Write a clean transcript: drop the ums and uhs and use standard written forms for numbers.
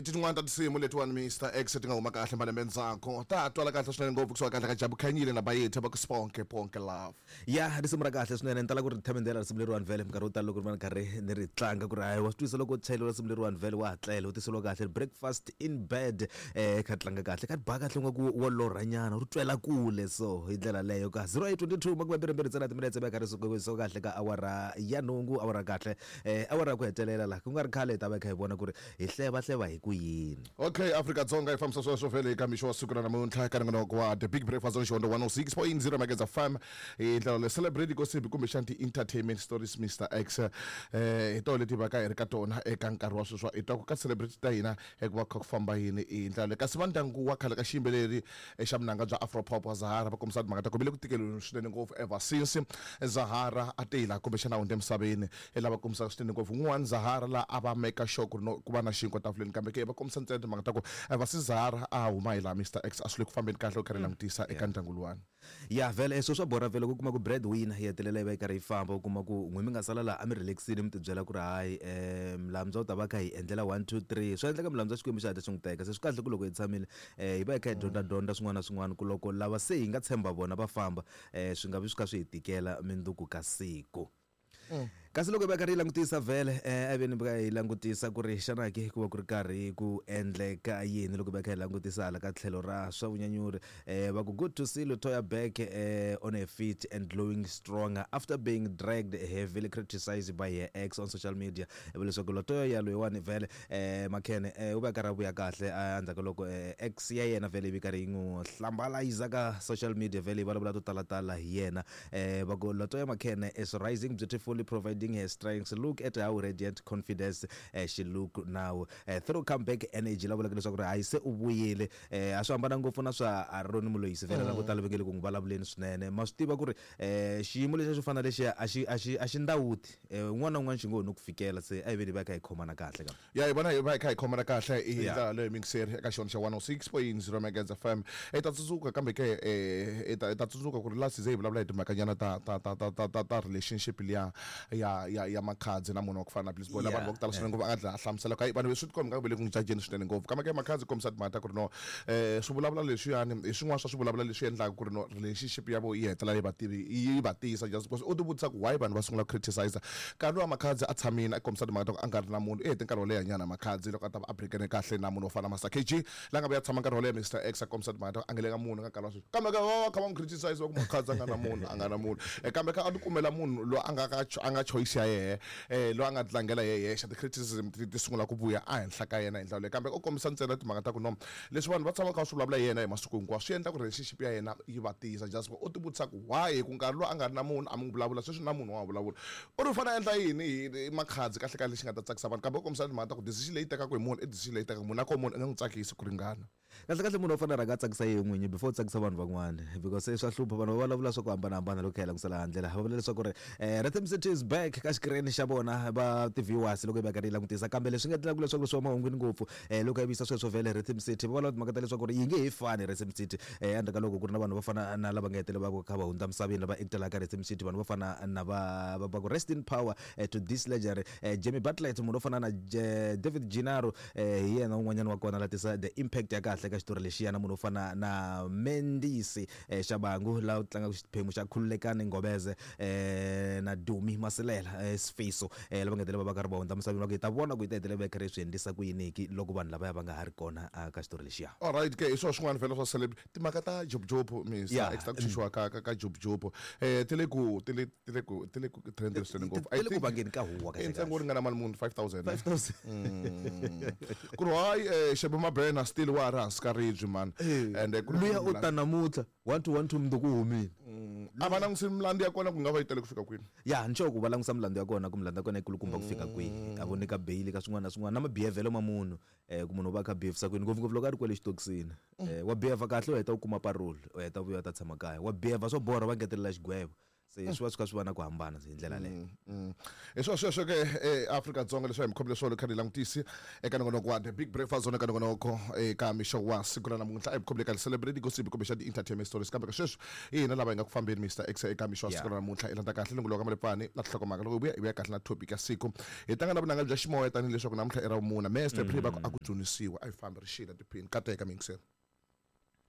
Tin'wana ta tinsimu letiwani Mr X ti nga huma kahle malembe ndzhaku ta twala kahle swinene ngopfu kusuka kahle ka Jabu Khanyile na Bayethe va ku Sponke Ponke Love. Ya risimu ra kahle swinene ni tala ku ri themendela risimu leriwani vhele minkarhi yo tala loko ri va ni karhi ni ri tlanga ku ri hayi wa swi twisa loko u chayeliwa risimu leriwani vhele wa hatlela u tiseriwa kahle breakfast in bed kha tlanga kahle kha ba kahle nga ku wa lorhanyana ri twela kule so hi ndlela leyo ka 0822 22 ntsena timinetse va karhi so kahle ka awara ya nhungu awara kahle awara ya ku hetelela la ku nga ri khale hi ta va hi kha hi vona ku ri hi hleva-hleva hi ku yini. Okay, Afrika-Dzonga yi fambisa sweswo vhele eka mixo wa siku ra namuntlha eka nongonoko wa The Big Breakfast on Xihondzo 106.0 Mageza FM hi ndlela leyi celebrate gossip kumbexana ti-entertainment stories Mr X hi toho leti va ka hi ri ka tona eka nkarhi wa sweswi hi twa ku ka celebrity ta hina ku va kha ku famba yini hi ndlela leyi kasi va ndyangu wa khale ka xiyimbeleri xa vunanga bya Afro-pop wa Zahara va kombisa timhaka ta ku ve le ku tikeriweni swinene ngopfu ever since Zahara a tela kumbexana a hundza emisaveni hi lava kombisaka swinene ngopfu un'wana Zahara laha a va make sure ku ri no ku va na xinkwa tafuleni kambe ke va kombisa ntsena timhaka ta ku ever since Zahara a huma hi laha Mister X a swi le ku fambeni kahle u karhi langutisa eka ndyangu luwani. Ya vhele sweswo swa borha vhele ku kuma ku bread winner yi hetelela yi va yi karhi yi famba u kuma ku n'wi mi nga sala laha a mi relax-ile mi tibyela ku ri hayi Mlamza u ta va kha hi endlela 1 2 3 swa endleka Mlamza Xikwembu xi hatla xi n'wi teka se swi kahle ku loko hi tshamile hi va hi kha hi dyondza dyondza swin'wana na swin'wana ku loko lava se hi nga tshemba vona va famba swi nga vi swi kha swi hi tikela mindzuku ka siku. Kasi loko hi va karhi hi langutisa vhele a veni va hi langutisa ku ri xana ke ku va ku ri karhi ku endleka yini loko va kha hi langutisa hala ka tlhelo ra swa vunyanyuri va ku good to see Letoya back on her feet and glowing stronger after being dragged heavily criticized by her ex on social media va leswaku Letoya ya loyiwani vhele Makhene u va karhi a vuya kahle endzhaku ka loko ex ya yena vhele yi vi karhi yi n'wi hlambalayiza ka social media vhele yi vulavula to talatala hi yena. Va ku Latoya Makhene is rising beautifully providing her strengths. Look at how radiant confidence she look now. Through comeback energy la vulaka leswaku ri hayi se u vuyile. A swi hambana ngopfu na swa Ronnie Moloisi vhele lavo tala va nge le ku n'wi vulavuleni swinene. Ma swi tiva ku ri xiyimo lexiya xo fana na lexiya a xi a xi a xi ndawuti. Un'wana na un'wana xi ngo ho no ku fikela se a hi veni hi va hi kha hi khomana kahle ka. Ya hi vona hi va hi kha hi khomana kahle hi ndlela leyo mingiseri eka xona xa 106.0 Megahertz FM. Hi ta tsundzuka kambe ke hi ta hi ta tsundzuka ku ri last season hi vulavula hi timhakanyana ta ta ta ta ta ta ta relationship liya ya ya ya Makhadzi na munhu wa ku fana na Bliss Boy. Laha vanhu va ku tala swinene ngopfu a nga dlina a hlamusela ku hayi vanhu swi tikomba nga ku ve le ku n'wi jajeni swinene ngopfu. Kambe ke Makhadzi kombisa timhaka ta ku ri no swi vulavula leswiyani hi swin'wana swa swivulavula leswi endlaka ku ri no relationship ya vo yi hetelela yi va tivi yi va tiyisa just because u ti vutisa ku why vanhu va sungula ku criticize nkarhi lowa Makhadzi a tshamile a kombisa timhaka ta ku a nga ri na munhu i hete nkarhi wo leha nyana Makhadzi loko a ta va a breakene kahle na munhu wo fana na Master KG la nga vuya tshama nkarhi wo leha Mister X a kombisa timhaka ta ku a nga le ka munhu ka nkarhi wa sweswi kambe ka va kha va n'wi criticize va ku Makhadzi a nga na munhu a nga na munhu kambe ka a ti kumela munhu loyi a nga ka a nga choice ya yehe loyi a nga tlangela yehe yexe ti-criticism ti sungula ku vuya ehenhla ka yena hi ndlela leyo kambe u kombisa ntsena timhaka ta ku no leswi vanhu va tshamaka va swi vulavula hi yena hi masiku hinkwawo swi endla ku relationship ya yena yi va tiyisa just u ti vutisa ku why hi ku nkarhi lowu a nga ri na munhu a mi n'wi vulavula sweswi na munhu wa vulavula u ri u fanele a endla yini hi Makhadzi kahle kahle lexi nga ta tsakisa vanhu kambe u kombisa timhaka ta ku decision leyi tekaka hi munhu i decision leyi tekaka munhu na koho munhu i nga n'wi tsakisi ku ringana. Kahle kahle munhu u fanele a rhanga a tsakisa yena n'winyi before u tsakisa vanhu van'wana because se swa hlupha vanhu va vulavula swa ku hambanahambana loko kha hi langusela hala ndlela va vula leswaku ri Rhythm City is back ka xikirini xa vona va ti-viewers loko hi va karhi hi langutisa kambe leswi nga endlaka leswaku swi huma mahungwini ngopfu loko hi vuyisa sweswo vhele Rhythm City va vulavula timhaka ta leswaku ri yi nge he fani Rhythm City endzhaku ka loko ku ri na vanhu vo fana na lava nga hetelela va kha va hundza misaveni lava actelaka Rhythm City vanhu vo fana na va va ku rest in power to this legendary Jamie Bartlett munhu wo fana na David Gennaro hi yena un'wanyana wa kona la tisa the impact ya kahle ka xitori lexiya na munhu wo fana na Mendisi Shabangu la tlangaka xiphemu xa Khululekani Ngobeze na Dumi Masilela Sifiso lava nga hetelela va va karhi va hundza misaveni va ku hi ta vona ku yi ta hetelela va karhi swi endlisa ku yini ki loko vanhu lavaya va nga ha ri kona ka xitori lexiya. Alright ke hi swona swin'wana vhela swa celeb timhaka ta Job Mister X ta ku xuxiwa ka Job ti le ku ti le ti le ku ti le ku trend swinene ngopfu I think vangeni ka huwa kahle ntsengo wo ringana mali muni 5000 5000 ku ri hayi Shebe Mabena still wa ha ri hansi ka ribye man and ku luya u ta namuntlha 1 2 1 2 mundzuku u humile a va langutisi milandzu ya kona ku nga va yi tele ku fika kwini ya ni sure ku va langusa milandzu ya kona ku milandzu ya kona yi kulukumba ku fika kwihi a voneka bail ka swin'wana na swin'wana na mabihevhelo ma munhu ku munhu u va a kha a behave-isa kwini ngopfungopfu loko a ri kwale xitokisini wa behave kahle u heta u kuma parole u heta u vuya u ta tshama kaya wa behave swo borha va ngetelela xigwevo. Se swi va swi kha swi va na ku hambana hi ndlela leyo. Hi swona sweswo ke eAfrika-Dzonga leswi a hi mi khomile swona kha ni langutisi eka nongonoko wa The Big Breakfast Zone, eka nongonoko eka mixo wa siku ra namuntlha. A hi mi khomile ka celebrity gossip kumbe xa ti-entertainment stories, kambe ka sweswi hi hina lava hi nga ku fambeni, Mr X, eka mixo wa siku ra namuntlha. I landza kahle lungelo ka Malepfani na tinhlokomhaka. Loko hi vuya, hi vuya kahle na topic ya siku, hi tlanga na vunanga bya ximoya, tanihileswaku namuntlha i ra vumuna. Mester Pre va ku a ku dzunisiwa. A hi fambi rixile tiphini kateka miyingiseri.